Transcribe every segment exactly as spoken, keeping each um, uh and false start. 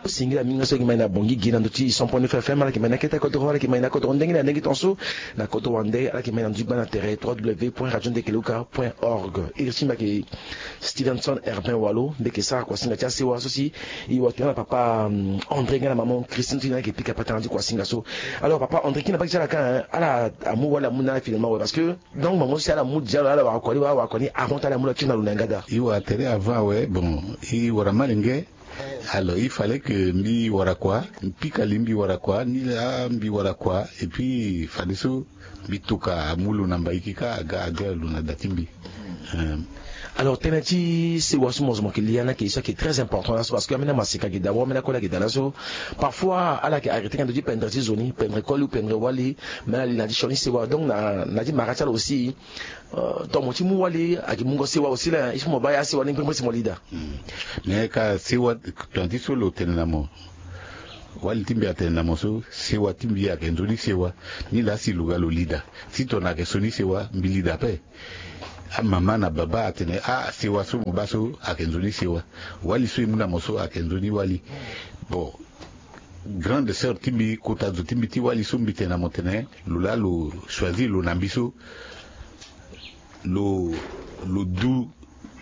Singila mingi so ayeke mai na Bangui gi na ndö ti cent point neuf F M, ala yeke mai na kete kodoro, ala yeke mai na kodoro ndenge na ndenge tongaso. Na kodoro wande ala yeke mai na ndö ti gba na tere trois W point radio ndekeluka point org. Iri ti mbi ayeke Stevenson Herbin Walo, mbi yeke sara kuasinga ti asewa so si e wara tënë na papa, hum, André nga na maman Christine ti na ayeke pika patara ti kuasinga so. Alors papa André, kina mbage ti ala ka, hein, ala amu wali amu na ala finalement, ouais, parce que donc maman so si ala mu déjà, ala wara kua ni, wala ala wara kua ni avant ti ala amu na kiri na lo na yanga daa. E wara tere avant, ouais, bon, e wara malenge. Alors il fallait que mbi wara kua, mbi pika li mbi wara kua, ni laa mbi wara kua, et puis fadeso mbi toka amu lo na mbaiki ka aga aga lo na da ti mbi. Euh. Alors tënë ti sewa so mo zo mo yeke lia ni ayeke so ayeke très important laso, parce que ambeni amaseka ayeke daa, ambeni akoli ayeke daa laso. Parfois ala yeke arrêté nga ndö ti pendre ti zo ni, pendre koli ou pendre wali. Mais ala li na ya ti sioni sewa, donc na, na ya ti mara ti ala aussi. Euh, tongana mo ti mu wali ayeke mungo sewa aussi la, il faut mo baa asewa ni ngbengbe si mo li daa. Hmm. Mais ka sewa, tongana ti so lo tene na mo, wali ti mbi atene na mo so, sewa ti mbi ayeke nzoni sewa. Ni laa si lo ga lo li daa. Si tongana ayeke sioni sewa, mbi li daa ape. Amama na baba atene, ah, sewa so mo baa so ayeke nzoni sewa. Wali so e mu na mo so ayeke nzoni wali. Bon, grande sœur ti mbi, kota zo ti mbi ti wali so mbi tene na mo tene, lo laa lo choisir lo na mbi so, lo, lo du,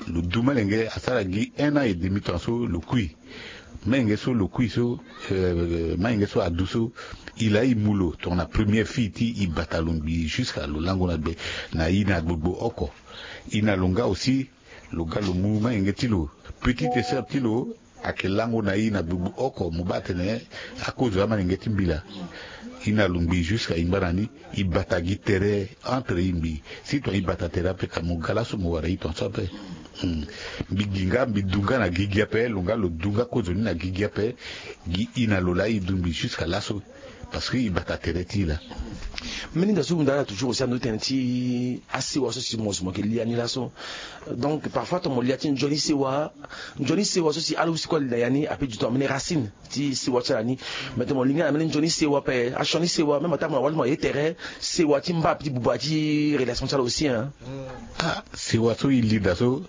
lo du malenge asara gi un an et demi temps so lo kui. Malenge so lo kui so, euh, malenge so adu so, e laa e mu lo tongana première fille ti e bata lo ngbii jusqu'à lo lango na gbe, na e na gbogbo oko. E na lo nga aussi, lo ga lo mu malenge ti lo, petite sœur ti lo, ayeke lango na e na gbogbo oko. Mo baa atene akozo amalenge ti mbi laa. E na lo ngbii jusqu'à e ngbara ni, e bata gi tere entre e ngbii. Si tongana e bata tere ape ka mo ga laso mo wara e tongaso ape. Hmm. Mbi gi nga, mbi du nga na gigi ape, lo nga lo du nga kozo ni na gigi ape. Gi e na lo laa e du ngbii jusqu'à laso. Parce que e bata tere ti e laa. Mbeni nda so hunda ala toujours aussi ando ti tene ti asewa so si mo zo mo yeke lia ni laso. Donc parfois tongana mo lia ti nzoni sewa, nzoni sewa so si ala aussi kue ali na ya ni ape du temps ambeni racine ti sewa ti ala ni. Mais tongana mo linga na mbeni nzoni sewa ape, asioni sewa, même ata mo na wali mo na ye tere, sewa ti mba ape ti buba ti relation ti ala aussi, hein. Ah, sewa so e li daa so,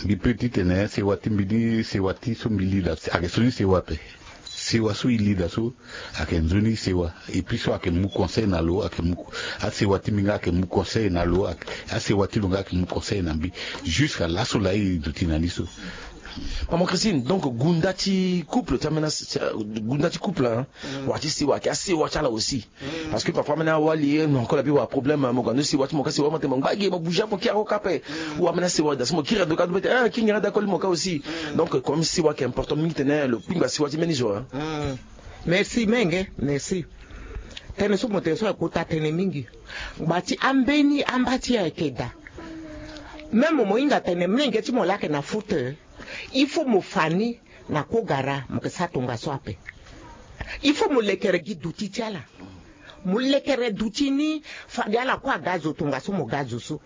mbi peut ti tene sewa ti mbi ni, sewa ti so mbi li daa ayeke sioni sewa ape. Sewa so e li daa so ayeke nzoni sewa. Et puis so ayeke mu conseil na lo, ayeke mu, asewa ti mbi nga ayeke mu conseil na lo, ayeke, asewa ti lo nga ayeke mu conseil na mbi. Jusqu'à laso laa e duti na ni so. Maman Christine, donc gunda ti couple ti ambeni, gunda ti couple, hein, wala ti sewa ayeke asewa ti ala aussi. Parce que parfois ambeni awali, eh, mo encore na bi wa problème, mo ga ndo sewa ti mo ka, sewa mo tene mo ngba gi mo bouger mo kiri ako ka ape. Ou ambeni asewa daa so mo kiri ando ka ndo bete, eh, kiri ngira daa koli mo ka aussi. Donc comme sewa ayeke important mingi tene lo kpingba sewa ti mbeni zo, hein. Merci menge, merci. Tënë so mo tene so ayeke kota tënë mingi. Ngba ti ambeni amba ti e ayeke daa. Même mo hinga tene mlenge ti mo laa ayeke na faute, il faut mo fa ni na kogara mo yeke sara tongaso ape. Il faut mo lekere gi duti ti ala. Mo lekere duti ni, fade ala kue aga zo tongaso mo ga zo so.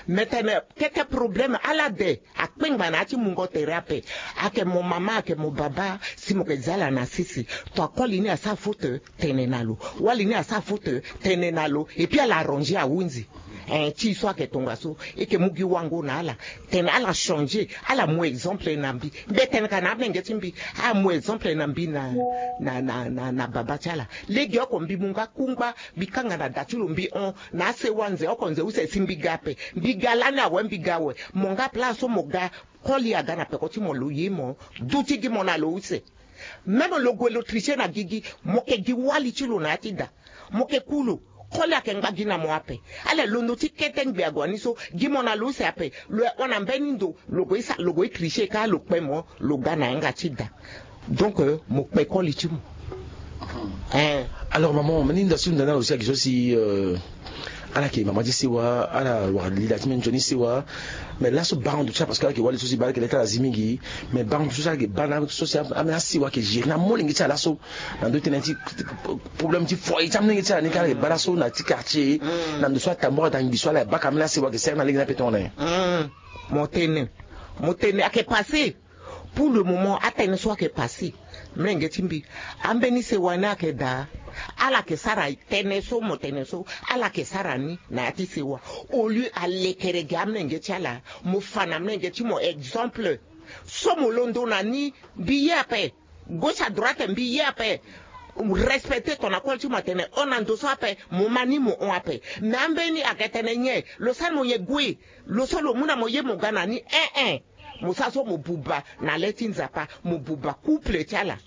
Me tene kete problème ala de akpengba na ya ti mungo tere ape. Ayeke mo mama, ayeke mo baba, si mo yeke za ala na sese, to akoli ni asara faute, tene na lo. Wali ni asara faute, tene na lo. Et puis ala arranger ahunzi. Eh, ti e so ayeke tongaso, e yeke mu gi wango na ala. Tene ala changer, ala mu exemple na mbi. Mbi tene ka na amenge ti mbi, ala mu exemple na mbi na, na, na, na, na baba ti ala. Legeoko mbi mu nga kungba, mbi kanga na da ti lo, mbi hon na asewa nze oko nze use si mbi ga ape. Mbi ga lani awe, mbi ga awe. Mo nga place so mo ga, koli aga na peko ti mo, lo ye mo, duti gi mo na lo use. Même lo gue lo tricher na gigi, mo yeke gi wali ti lo na ya ti da. Mo yeke ku lo, koli ayeke ngba gi na mo ape. Ala londo ti kete ngbe ague ni so, gi mo na lo use ape. Lo ye hon na mbeni ndo, lo gue sa, lo gue tricher ka lo kpe mo, lo ga na yanga ti da. Donc, euh, mo kpe koli ti mo. Eh. Alors maman, mbeni nda so hunda ni ala aussi ayeke so si, euh, ala yeke mama ti sewa, ala wara lila ti mbeni nzoni sewa. Mais laso baa ndo ti ala, parce que ala yeke wali so si baa, ala yeke le ti ala zi mingi. Mais baa ndo so si ala yeke baa na so si ambeni asewa ayeke gérer na molenge ti ala laso. Na ndo ti tënë ti problème ti foyer ti amolenge ti ala ni ka, ala yeke baa laso na ti quartier. Na ndo so atambara daa ngbii so ala yeke baa ka, ambeni asewa ayeke sere na lege ni ape tongana nyen? Mo tene, mo tene ayeke passé. Pour le moment atënë so ayeke passé, mlenge ti mbi, ambeni sewa ni ayeke daa. Ala yeke sara tënë so mo tene so, ala yeke sara ni na ya ti sewa. Au lieu alekere gi amlenge ti ala, mo fa na mlenge ti mo exemple. So mo londo na ni, mbi ye ape. Gauche à droite mbi ye ape. Respecter tongana koli ti mo atene hon na ndo so ape, mo ma ni mo hon ape. Mais ambeni ayeke tene nyen? Lo sara mo nyen? Gue. Lo so lo mu na mo ye mo ga na ni, eh eh. Mo sara so mo buba na le ti Nzapa, mo buba couple ti ala.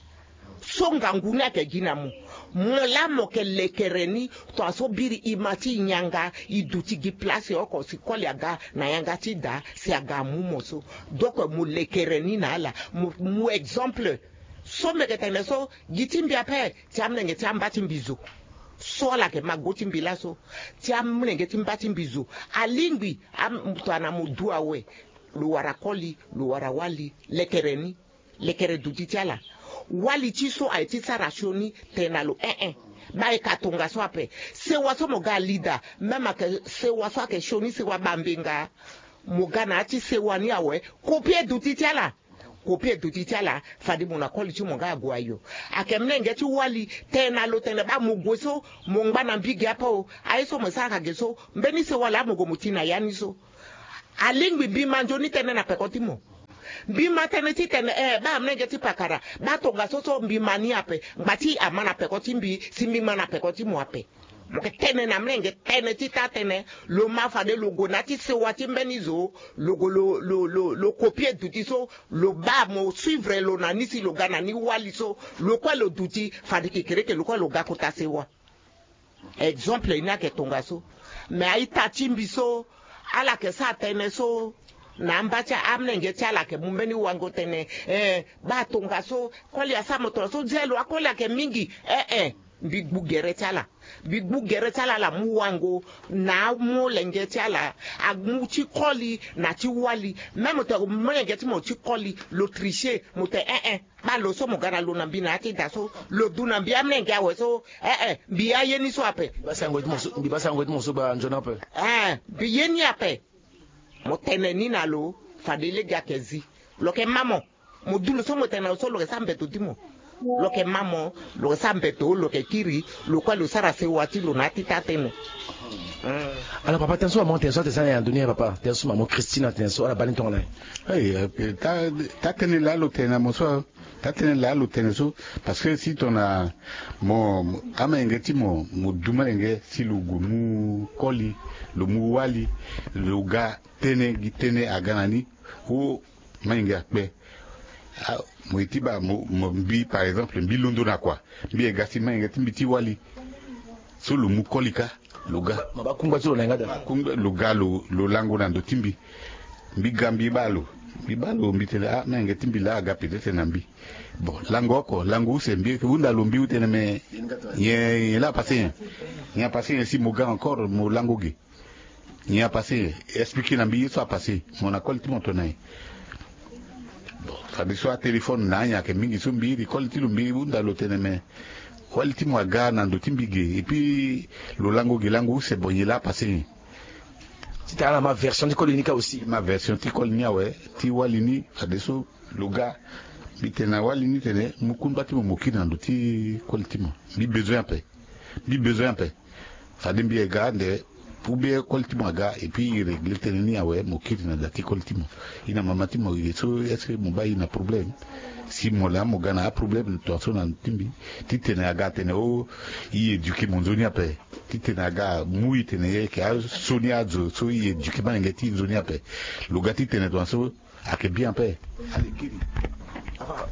So ngangu ni ayeke gi na mo. Mo laa mo yeke lekere ni. Tongaso biri e ma ti e yanga, e duti gi place oko si koli aga na yanga ti da si aga amu mo so. Donc mo lekere ni na ala. Mo mu exemple. So mbi yeke tene so, gi ti mbi ape, ti amolenge ti amba ti mbi zo. So ala yeke ma go ti mbi laso. Ti amolenge ti mba ti mbi zo. Alingbi am- tongana mo du awe, lo wara koli, lo wara wali, lekere ni. Lekere duti ti ala. Wali ti so aye ti sara sioni tene na lo, eh eh. Baa e ka tongaso ape. Sewa so mo ga ali daa, même ayeke sewa so ayeke sioni, sewa bambenga. Mo ga na ya ti sewa ni awe. Kopie duti ti ala. Kopie duti ti ala. Fade mo na koli ti mo nga ague ayo. Ayeke molenge ti wali tene na lo tene baa mo gue so, mo ngba na mbi ge ape o. Aye so mo sara ka ge so, mbeni sewa laa mo gue mo ti na ya ni so. Alingbi mbi ma nzoni tënë na peko ti mo. Mbi ma tënë titene, eh, baa amolenge ti pakara, baa tongaso so mbi ma ni ape. Ngba ti ama na peko ti mbi si mbi ma na peko ti mo ape. Mo yeke tene na amolenge tënë ti taa tënë. Lo ma fade lo gue na ya ti sewa ti mbeni zo. Lo gue lo, lo, lo, lo kopie duti so. Lo baa mo suivre lo na ni si lo ga na ni wali so. Lo kue lo duti fade kekereke lo kue lo ga kota sewa. Exemple ni ayeke tongaso. Me a-ita ti mbi so, ala yeke sara tënë so na amba ti amolenge ti ala, ayeke mu mbeni wango tënë, eh, baa tongaso, koli asara mo tongaso, nze lo akoli ayeke mingi, eh eh. Mbi gbu gere ti ala. Mbi gbu gere ti ala, ala mu wango na amolenge ti ala, amu ti koli na ti wali. Même tongana molenge ti mo ti koli lo tricher, mo tene, eh eh. Baa lo so mo ga na lo na mbi na ya ti da so, lo du na mbi amolenge awe so, eh eh, mbi ye aye ni so ape. Mbi baa sango ti mo so, mbi baa sango ti mo so, baa nzoni ape. Eh, mbi ye ni ape. Mo tene ni na lo, fade lege ayeke zi. Lo yeke ma mo. Mo du lo so mo tene na lo so, lo yeke sara mbeto ti mo. Lo yeke ma mo, lo yeke sara mbeto, lo yeke kiri, lo kue lo sara sewa ti lo na ya ti taa tënë. Hmm. Alors papa, tënë so maman tene so atene so na ya ndo ni, papa, tënë so maman Christine atene so, ala baa ni tongana nyen? Hey, eh, taa, taa tënë laa lo tene na mo so. Taa tënë laa lo tene so, parce que si tongana mo, mo, amolenge ti mo, mo du molenge si lo gue mu koli, lo mu wali, lo ga tënë gi tënë aga na ni. O, molenge akpe. Ah, mo ye ti baa mo, mo, mbi par exemple, mbi londo na kua. Mbi ye ga si molenge ti mbi ti wali. So lo mu koli kâ, lo ga. Mo baa kungba ti lo na yanga daa. Kungba, lo ga lo, lo lango na ndo ti mbi. Mbi ga mbi baa lo. Mbi baa lo, mbi tene, ah, molenge ti mbi laa aga peut-être na mbi. Bon, lango oko, lango use, mbi yeke hunda lo, mbi tene me nyen, nyen laa apasser nyen. Nyen apasser nyen si mo ga encore, mo lango ge. Nyen apasser, expliquer na mbi ye so apasser. Mo na koli ti mo tongana nyen? Bon, fadeso atéléphone na anyen ayeke mingi so mbi iri koli ti lo, mbi hunda lo tene me wali ti mo aga na ndo ti mbi ge, et puis lo lango ge lango use, bon, nyen laa apasser nyen? Titene ala ma version ti koli ni kâ aussi. Ma version ti koli ni awe, ti wali ni, fadeso lo ga. Mbi tene na wali ni tene mu kungba ti mo, mo kiri na ndo ti koli ti mo. Mbi besoin ape. Mbi besoin ape. Fade mbi ye ga ande, ou bien koli ti mo aga, et puis e régler tënë ni awe, mo kiri na da ti koli ti mo. E na mama ti mo, e so, est-ce que mo baa e na problème? Si mo laa mo ga na aproblème tongaso na ndo ti mbi, titene aga atene o, e éduquer mo nzoni ape. Titene aga amu e tene e yeke asioni azo so e éduquer molenge ti e nzoni ape. Lo ga titene tongaso ayeke bien ape. Allez, kiri.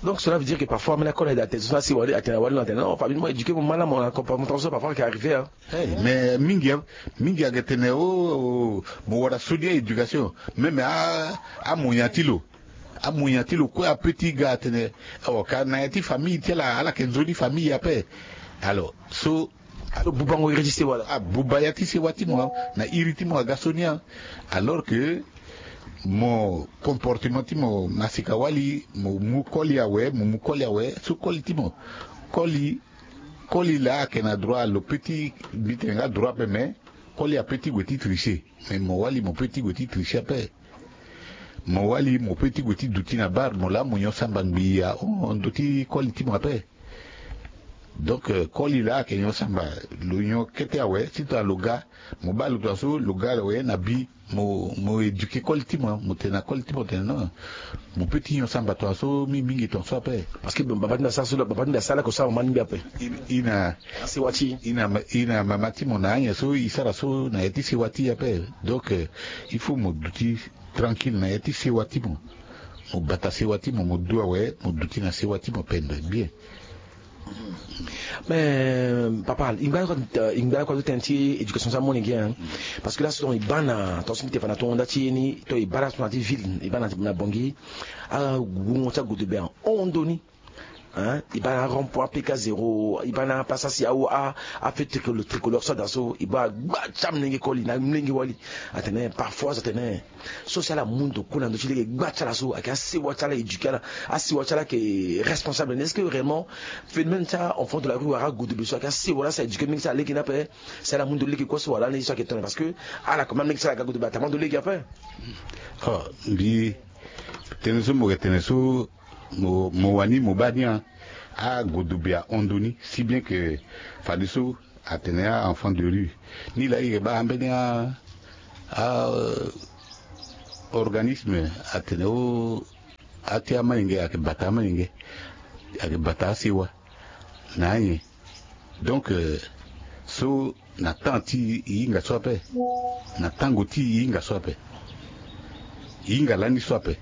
Donc cela veut dire que parfois, mena kona da te so si wali atene, wali na tene, non, famille mo éduquer mo, mala mo na comportement so parfois qui arrive, hein. Hey, mais mingi, mingi ayeke tene o, o, mo wara soni a-éducation. Même a, amoyen ti lo. Amoyen ti lo kue ape ti ga atene, oh, ka na ya ti famille ti ala, ala yeke nzoni famille ape. Alors so, alo bubango iri ti sewa laa. Abuba ya ti sewa ti mo na iri ti mo aga so ni. Alors que mo comportement ti mo masika wali, mo mu koli awe, mo mu koli awe, so koli ti mo, koli, koli laa ayeke na droit, lo peut ti, mbi tene nga droit ape, mais koli apeut ti gue ti tricher. Mais mo wali mo peut ti gue ti tricher ape. Mo wali mo peut ti gue ti duti na bar, mo laa mo nyon samba ngbii ahon ndo ti koli ti mo ape. Donc koli laa ayeke nyon samba. Lo nyon kete awe si tongana lo ga, mo baa lo tongaso lo ga awe na bi. Mo mo éduquer koli ti mo, mo tene na koli ti mo tene non. Mo pe ti nyon samba tongaso mingi mingi tongaso ape. Parce que baba ti mbi asara so baba ti mbi asara lake osara mama ti mbi ape. I na sewa ti i na mama ti mo na anyen so i sara so na ya ti sewa ti i ape. Donc il faut mo duti tranquille na ya ti sewa ti mo. Mo bata sewa ti mo mo du awe mo duti na sewa ti mo pendre bien. Mais papa i ngba kua ti tene ti éducation so amolenge. Parce que laso tonga i baa na tonga so mbi te fa na tonga nda ti ye ni tonga i baa laso na ti ville i baa na bongi. Agungo ti agodobe ahon ndo ni. I baa na arond point apk zéro i baa na apasa si awo afeu tricolore so ada so i baa agba ti amolenge koli na amolenge wali. Atene parfois atene so si ala mu ndo kue na ndö ti lege gba ti ala so ayeke asewa ti ala éduquer ala. Asewa ti ala ayeke responsable ni est-ce que réellement phénomène ti a enfant de la rue wala agodobe so ayeke asewa la si a éduquer mingi ti ala lege ni ape? Si ala mu ndo lege kue so wala lani so ayeke tene parce que ala koma mingi ti ala ga godobe atama ndo lege ape. Oh mbi tene so mo yeke tene so mo wani mo baa ni a agodobe ahon ndo ni si bien que fadeso atene a enfant de rue ni laa i yeke baa ambeni a organisme atene o ati amalenge ayeke bata amalenge ayeke bata asewa na anyen. Donc so na temps ti i hinga so ape na tango ti i hinga so ape i hinga lani so ape.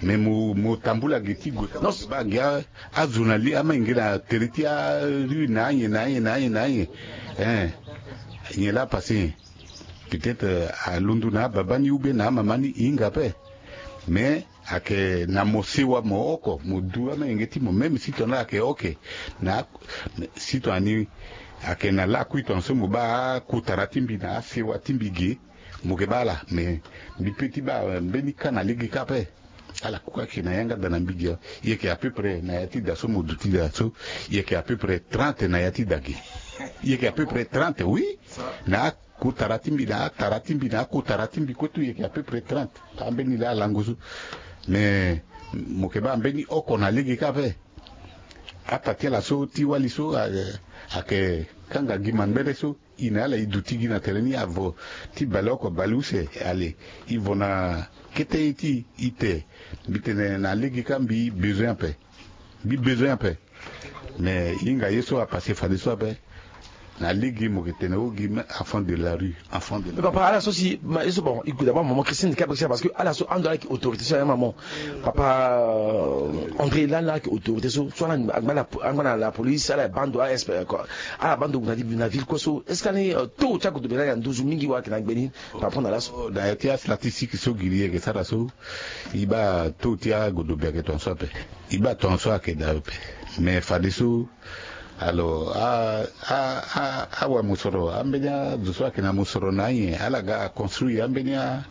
Mais mo tambula gi ti gue baa gi azo na li amalenge na tere ti arue na anyen na anyen na anyen na anyen. Nyen laa apasse nyen? Peut-être alondo na ababa ni ou bien na amama ni i hinga ape. Mais ayeke na mo sewa mo oko mo du amalenge ti mo même si tongana ayeke oke na si tongana ni ayeke na lakui tongaso mo baa akutara ti mbi na asewa ti mbi ge. Mo yeke baa ala mais mbi pe ti baa mbeni ka na lege kâ ape. Ala kue ayeke na yanga da na mbi ge. I yeke à peu près na ya ti da so mo duti da so i yeke à peu près trente na ya ti da ge. I yeke à peu près trente oui. Na akutara ti mbi na atara ti mbi na akutara ti mbi kue tout i yeke à peu près trente. Ambeni laa alango so mais mo yeke baa mbeni oko na lege kâ ape. Ata ti ala so ti wali so ayeke kanga gi mangbere so i na ala i duti gi na tere ni avo ti baleoko baleuse. Ale i vo na kete ti i te. Mbi tene na lege kâ mbi besoin ape. Mbi besoin ape. Mais i hinga ye so apasse fadeso ape. Na lege mo yeke tene o gi me enfant de la rue enfant de la rue. Papa ala so si ma ye so bon i gue d'abord maman Christine ka bikisa parce que ala so ando ala yeke autorité so ya maman. Papa André lani ala yeke autorité so so ala angba na la police ala baa ndo ala inspecter quoi. Ala baa ndo na ville kue so est-ce que ani taux ti agodobe lani na nduzu mingi wala ayeke na gbe ni? Par rapport na laso na ya ti astatistique so giri yeke sara so i baa taux ti agodobe ayeke tongaso ape. I baa tongaso ayeke daa ape. Mais fadeso alors a a a awamosoro ambeni azo so ayeke na mosoro na anyen ala ga construire ambeni a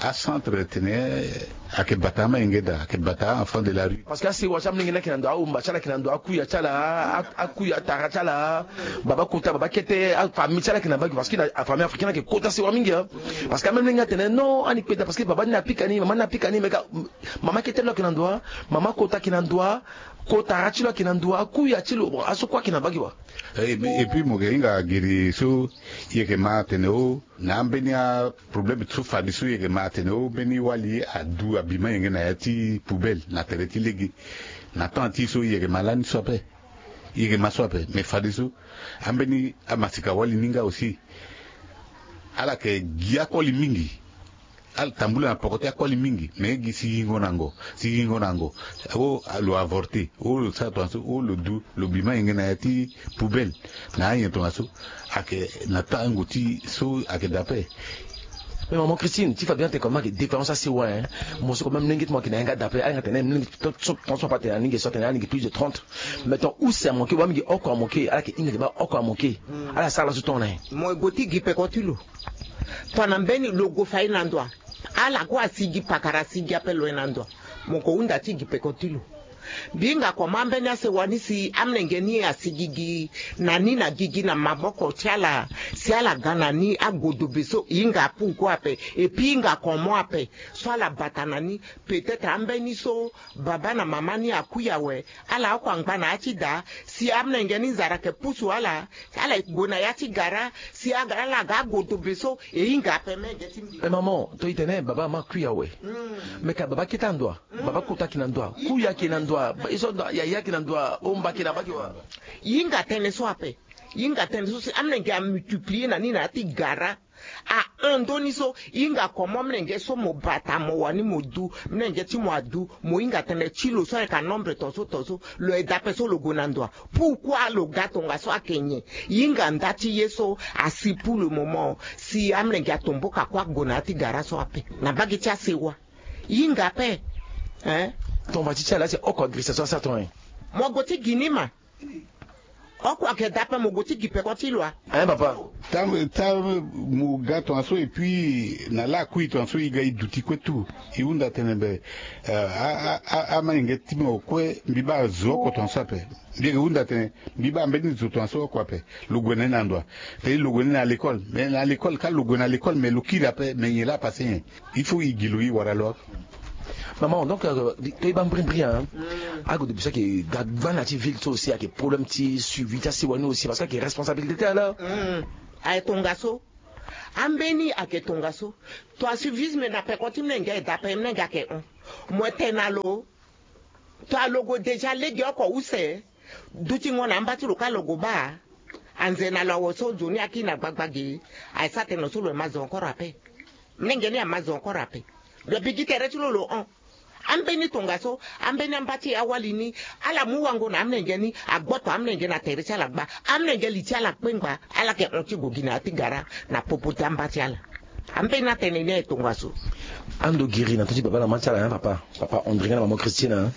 acentre tene ayeke bata amalenge daa ayeke bata a enfant de la rue. Parce que asewa ti amalenge ni ayeke na ndo ahomba ti ala ayeke na ndo akuya ti ala akuya atara ti ala baba kota baba kete afamille ti ala ayeke na mbage parce que afamille africaine ayeke kota sewa mingi. Parce que amalenge atene non ani kpe daa parce que baba ni apika ni mama ni apika ni me ka mama kete lo ayeke na ndo wa mama kota ayeke na ndo wa kotara ti lo ayeke na ndo wa akuya ti lo bon aso kue ayeke na mbage wa. Et puis mo yeke hinga giri so i yeke ma atene o na ambeni aproblème so fadeso i yeke ma atene o mbeni wali adu abi malenge na ya ti poubelle na tere ti lege. Na temps ti so i yeke ma lani so ape. I yeke ma so ape mais fadeso ambeni amasika wali ni nga aussi. Ala yeke gi akoli mingi. Ala tambula na poko ti akoli mingi mais gi si yingo na ngo si yingo na ngo. O lo avorte o lo sara tongaso o lo du lo bi malenge na ya ti poubelle. Na anyen tongaso ayeke na tango ti so ayeke dape. Mais maman Christine ti fa bien te comme ayeke différence asewa hein. Mo so comme même lenge ti mo ayeke na yanga dape ala yanga tene même lenge ti so tongaso apa tene alenge so atene alenge plus de trente. Mais ton use amoke wa mingi oko amoke ala yeke hinga yeke baa oko amoke. Ala sara laso tonga na ye. Mo gue ti gi peko ti lo. Tongana mbeni lo gue fa ye na ndo wa. Ala kue asi gi pakara asi gi ape lo ye na ndo wa. Mo ko hunda ti gi peko ti lo. Mbi hinga komo ambeni asewa ni si amolenge ni asi gigi na ni na gigi na maboko ti ala. Si ala ga na ni agodobe so e hinga apuku ape. Epi e hinga komo ape so ala bata na ni. Peut-être ambeni so baba na mama ni akui awe, ala oko angba na ya ti da. Si amolenge ni nzara ayeke pusu ala, ala gue na ya ti gara. Si aga ala ga agodobe so e hinga ape mege ti mbi. Eh, maman, to e tene baba mama akui awe. Me ka baba kete na ndo wa? Baba kota ayeke na ndo wa? Kui ayeke na ndo wa? Ba- e so ndo- yaya ayeke na ndo wa? Omba ayeke na bake wa? E hinga tënë so ape. E hinga tënë so si amolenge amultiplier na ni na ya ti gara. A un ndoni so e hinga komo amolenge so mo bata mo wani mo du, amolenge ti mo adu, mo hinga tënë ti lo so ayeke anombre tongaso tongaso. Lo aye daa ape so lo gue na ndo wa? Pourquoi lo ga tongaso ayeke nyen? E hinga nda ti ye so asi pour le moment. Si amolenge atomboka kue ague na ya ti gara so ape na mbage ti asewa. E hinga ape. Hein? Tonga ti ti ala si oko agrisa so asara tonga nyen? Mo gue ti gi ni ma. Oko ayeke daa ape, mo gue ti gi peko ti lo a? Hein, papa? Tango tango mo ga tongaso, et puis na lakui tongaso e ga e duti kue tout. E hunda tene be, eh, a- a- a- amolenge ti mo kue mbi baa azo oko tongaso ape. Mbi yeke hunda tene mbi baa mbeni zo tongaso oko ape. Lo gue na ni na ndo wa? Tene lo gue na ni na l'école. Mais na l'école, ka lo gue na l'école, mais lo kiri ape, mais nyen laa apase nyen? Il faut e gi lo, e wara lo. Maman, donc, euh, to e baa mbrimbri, hein. Agodobe so ayeke ga gba na ya ti ville so aussi ayeke problème ti suivi ti asewa ni aussi, parce que ayeke responsabilité ti ala. Ayeke tongaso. Ambeni ayeke tongaso. To asuivisme na peko ti mlenge aye daa ape, mlenge ayeke hon. Mo tene na lo. To alogo déjà lege oko use. Dutingo na amba ti lo ka logo baa. Anze na lo awe so nzoni akiri na gbagba ge. Aye sa tene lo so lo ma zo encore ape. Mlenge ni ama zo encore ape. Lo bigi tere ti lo lo hon. Ambeni tongaso, ambeni amba ti awali ni. Ala mu wango na amlenge ni, agboto amlenge na tere ti ala gba. Amlenge li ti ala kpengba, ala yeke hon ti gue gi na ya ti gara na popo ti amba ti ala. Ambeni atene ni aye tongaso. Ando giri na ndö ti baba na mama ti ala, hein, papa, papa André nga na mama Christine, hein.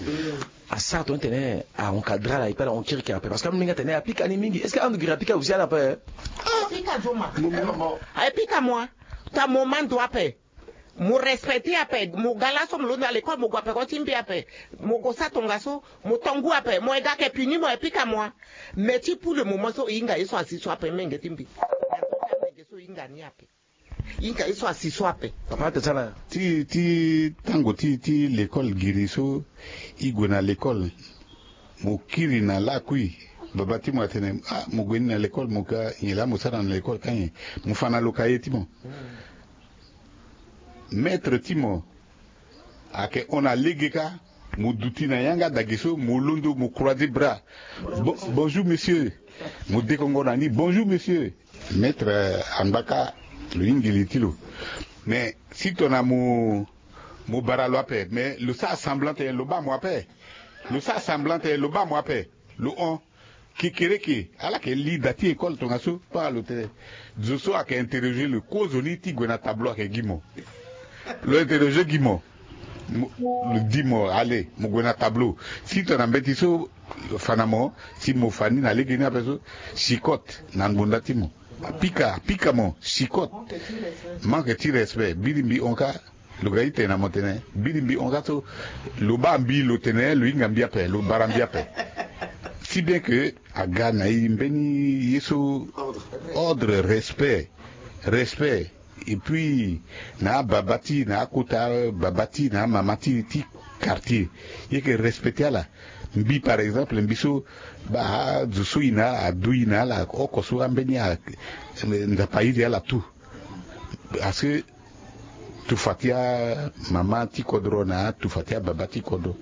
Asara tongana tene a encadrer ala, e pe ala hon kirikiri ape, parce que amolenge atene apika ni mingi. Est-ce que ando giri apika aussi ala ape? Apika zo ma. Apika mo a. Ta mo ma ndo ape. Mo respecter ape, mo ga laso mo londo na l'école, mo gue ape ko ti mbi ape. Mo gue sa tongaso, mo to ngu ape, mo ye ga ayeke puni mo, apika mo a. Mais ti pour le moment so e hinga ye so asi so ape, menge ti mbi. Menge so e hinga ni ape. E hinga ye so asi so ape. Papa ate ti ala. Ti ti tango ti ti l'école giri so, e gue na l'école. Mo kiri na lakui. Baba ti mo atene, ah, mo gue ni na l'école, mo ka nyen laa mo sara na l'école ka nyen? Mo fa na lo ka ye ti mo. Maître ti mo ayeke hon na lege kâ. Mo duti na yanga dage so, mo londo, mo croiser bras. Bo- bonjour monsieur. Mo dekongo na ni, bonjour monsieur. Maître, eh, angba kâ, lo hingi li ti lo. Mais si tongana mo mo bara lo ape, mais lo sara semblant tene lo baa mo ape. Lo sara semblant tene lo baa mo ape. Lo hon. Kekereke, ala yeke li da ti école tongaso, pa lo tene zo so ayeke interroger lo, kozoni ti gue na tableau ayeke gi mo. Lo interroger gi mo. Mo- lo di mo, allez, mo gue na tableau. Si tongana mbeti so fa na mo, si mo fa ni na lege ni ape so, chicotte na ngbonda ti mo. Apika, apika mo, chicotte. Manque ti respect. Biri mbi hon kâ. Lo ga ti tene na mo tene, biri mbi hon kâ so, lo baa mbi, lo tene lo hinga mbi ape, lo bara mbi ape. Si bien que aga na e mbeni ye so, ordre, respect, respect. Et puis na ababa ti, na akota baba ti, na amama ti ti quartier, e yeke respecter ala. Mbi par exemple, mbi so, baa azo so e na ala, adu e na ala oko so, ambeni a- Nzapa airi ala tout. Parce que tufa ti amama ti kodro na atufa ti ababa ti kodro.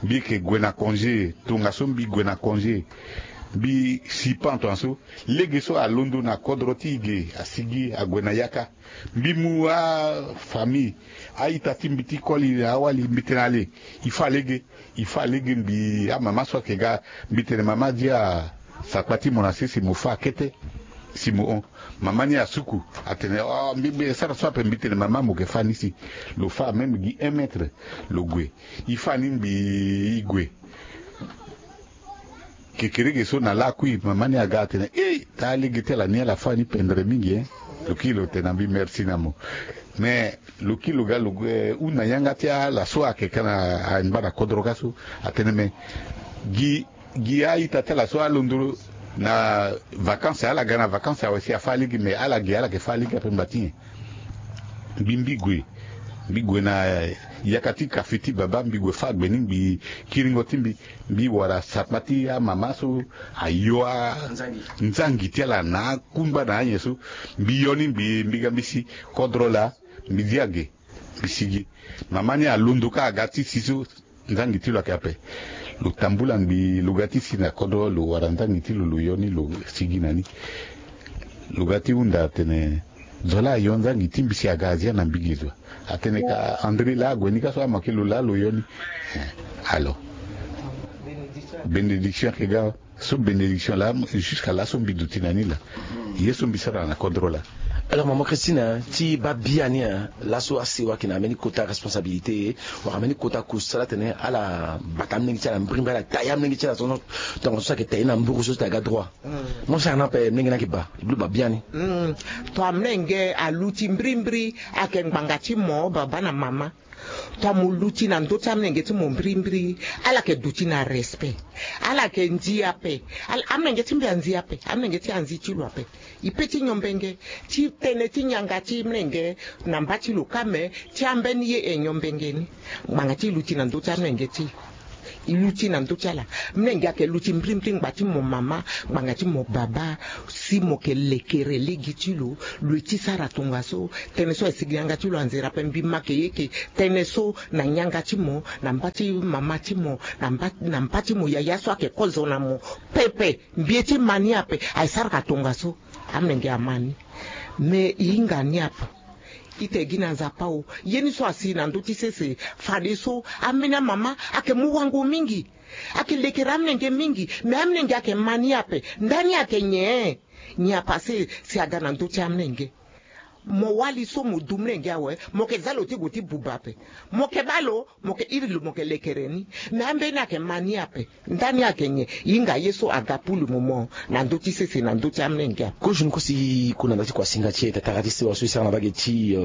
Mbi yeke gue na congé, tongaso mbi gue na congé. Mbi si pan tongaso. Lege so alondo na kodro ti e ge, asigi ague na yaka. Mbi mu afamille, a-ita ti mbi ti koli na awali, mbi tene ale, e fâ lege. E fâ lege. Mbi amama so ayeke ga, mbi tene mama, dia sakpa ti mo na sese, mo fâ kete. Si mo hon, mama ni asuku, atene, oh, mbi, mbi sara so ape. Mbi tene mama, mo yeke fâ ni si. Lo fâ même gi un mètre, lo gue. E fâ ni mbi, e gue. Kekereke so na lakui, mama ni aga atene, eh, taa lege ti ala ni, ala fâ ni pendre mingi, eh. Lo kiri lo tene na mbi, merci na mo. Mais lo kiri lo ga lo gue hunda yanga ti ala so ayeke ka na angba na kodro ka so. Atene me gi gi a-ita ti ala so alondo na vacances, ala ga na vacances awe si afa alege, mais ala gi ala yeke fa alege ape ngba ti nyen. Mbi mbi gue mbi gue na yaka ti kafe ti baba, mbi gue fâ gbe ni, mbi kiringo ti mbi, mbi wara sapa ti amama so ayo a nzangi ti ala na akungba na anyen so. Mbi yo ni, mbi mbi ga mbi si kodro laa. Mbi dia ge, mbi sigi. Mama ni alondo kâ aga ti si so. Nzangi ti lo ayeke ape. Lo tambula ngbii, lo ga ti si na kodro, lo wara nzangi ti lo, lo yo ni, lo sigi na ni. Lo ga ti hunda atene, zo laa ayo nzangi ti mbi si aga azia na mbi ge zo. Atene ka André laa ague ni ka so, ama ke lo laa lo yo ni. Alors, bénédiction ayeke ga. So bénédiction laa, jusqu'à laso mbi duti na ni laa. Ye so mbi sara na kodro laa. Alors maman Christine, ti baa biani, laso asewa ayeke na ambeni kota responsabilité, wala ambeni kota kusala atene ala bata amolenge ti ala mbirimbiri, ala taye amolenge ti ala so, tongaso so ayeke taye na mburu so ti aga droit. Mo sara na ape, molenge ni ayeke baa, e bi lo baa biani. Tongana amolenge aluti mbirimbiri, ayeke ngbanga ti mo baba na mama. Tongana mo luti na ndö ti amolenge ti mo mbirimbiri, ala yeke duti na respect. Ala yeke nzi ape. Amolenge ti mbi anzi ape, amolenge ti anzi ti lo ape. E pe ti nyombenge ti tënë ti nyanga ti molenge na mba ti lo kâ, me ti ambeni ye e nyombenge ni. Ngbanga ti luti na ndö ti amolenge ti e. E luti na ndö ti ala. Molenge ayeke luti mbirimbiri ngbanga ti mo mama, ngbanga ti mo baba. Si mo yeke lekere lege ti lo, lo ye ti sara tongaso. Tënë so ayeke sigi yanga ti lo anzere ape, mbi ma yeke ye eke tënë so na nyanga ti mo, na mba ti mama ti mo, na mba ti mo yaya so ayeke kozo na mo pepe. Mbi ye ti ma ni ape. Ayeke sara ka tongaso. Amolenge ama ni. Me e hinga ni ape. Ita e gi na Nzapa o. Ye ni so asi na ndö ti sese. Fadeso ambeni amama ayeke mu wango mingi. Ayeke lekere amolenge mingi. Me amolenge ayeke ma ni ape. Ndani ayeke nyen? Nyen apase si aga na ndö ti amolenge? Mo wali so mo du molenge awe, mo yeke za lo ti gue ti buba ape. Mo yeke baa lo, mo yeke iri lo, mo yeke lekere ni. Me ambeni ayeke ma ni ape. Ndani ayeke nyen? E hinga ye so aga pulu momo na ndö ti sese, na ndö ti amolenge ape. Kozoni kosi kue na ndö ti kuasinga ti e, tatara ti sewa so e sara na mbage ti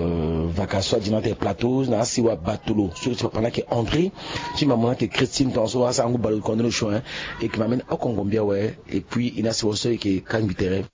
vaka so adi na ate plateau na asewa batolo so ti papa ni ayeke André, ti mama ni ayeke Christine, tongaso asarango baleoko na ndö ni osio. E yeke ma mbeni oko ngombi awe. Et puis e na sewa so e yeke kangbi tere.